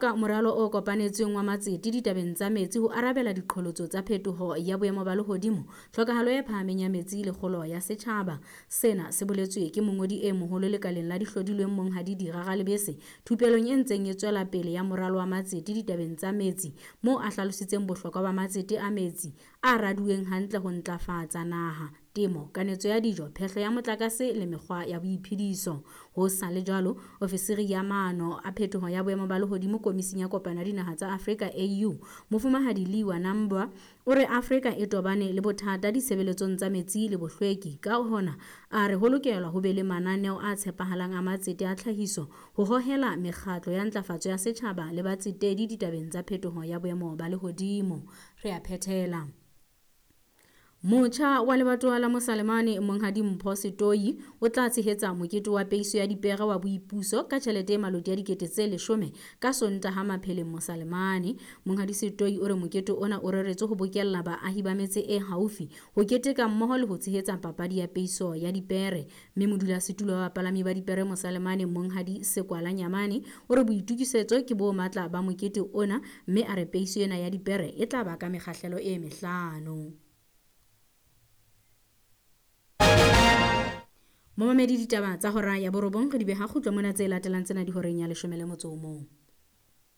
Ka moralo o kopanetsweng wa matsete ditabeng tsa metsi ho arabela diqholotso tsa phetoho ya boemo ba lehodimo, tlhokahalo e phahameng ya metsi le kgolo ya setjhaba. Sena se boletswe ke mongodi e moholo lekaleng la dihlodilweng Monghadi Dira Ralebese thupelong e ntseng e tswela pele ya moralo wa matsete ditabeng tsa metsi, moo a hlalositseng bohlokwa ba matsete a metsi a raduweng hantle ho ntlafatsa naha, temo, kanetso ya dijo, phehlo ya motlakase le mekgwa ya boiphediso. Ho sa le jwalo, ofisiri ya maano a phetoho ya boemo ba lehodimo Komising ya Kopano ya Dinaha tsa Afrika AU, Mofumahadi Liwa Nambwa, o re Afrika e tobane le bothata ditshebeletsong tsa metsi le bohlweki. Ka hona, a re ho lokelwa ho be le mananeo a tshepahalang a matsete a tlhahiso ho hohela mekgatlo ya ntlafatso ya setjhaba le batsetedi ditabeng tsa phetoho ya boemo ba lehodimo. Re a phethela. Motjha wa lebatowa la Mosalemane Monghadi Mpho Setoi o tla tshehetsa mokete wa peiso ya dipere wa boipuso ka tjhelete e maloti a 10,000 ka Sontaha Mapheleng Mosalemane. Monghadi Setoi o re mokete ona o reretswe ho bokella baahi ba metse e haufi ho keteka mmoho le ho tshehetsa papadi ya peiso ya dipere. Mme modulasetulo wa bapalami ba dipere Mosalemane Monghadi Sekwala Nyamane o re boitokisetso ke bo matla ba mokete ona, mme a re peiso ena ya dipere e tla ba ka mekgahlelo e mehlano. Momamedi ditaba tsa hora ya borobong re di beha kgutlo mona, tse latelang tsena di horeng ya 11.